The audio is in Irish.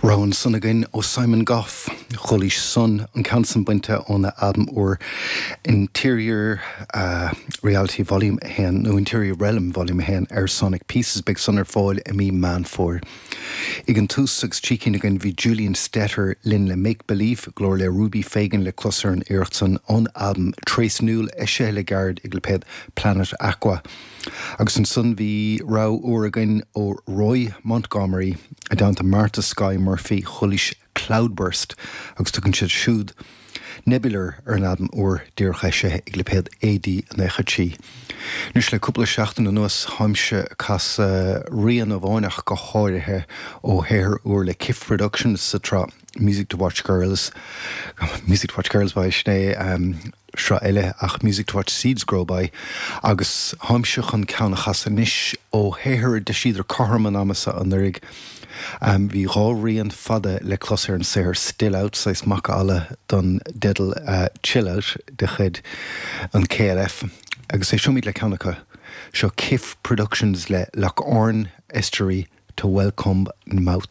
Rogha ansan againn ó Simon Gough, Chualaís Sun, an ceann san bainte óna albam úr Interior Reality Volume 1, nó Interior Realm Volume 1 ar Sonic Pieces. Beidh san ar fáil i mí Meán Fómhair. Ag an tús agus trí cinn againn bhí Julian Stetter linn le Make Belief, glór le Ruby Fagan le clos ar an iarracht san ón albam Trasnúil eisithe le gairid ag lipéad Planet Aqua. Agus ansan bhí rogha úr againn ó Roy Montgomery i dteannta Martha Skye Murphy, Chualaís Cloudburst agus tugann siad siúd Nebular ar an albam úr díreach eisithe ag lipéad AD 93. Anois le cúpla seachtain anuas táimse ag casadh rian amháin ach go háirithe ó shaothar úr le Kiff Productions sa tsraith Music to Watch Girls, Music to Watch Girls By, sin é. sraith eile ach Music to Watch Seeds Grow By agus táimse chun ceann a chasadh anois ó shaothar a d'eisíodar cothrom an ama seo anuraidh. Bhí dhá rian fada le clos ar an saothar Still Out, saghas macalla don dteideal Chill Out de chuid an KLF agus éisteoimid le ceann acu. Seo Kiff Productions le Loch Orne Estuary to Welcombe Mouth.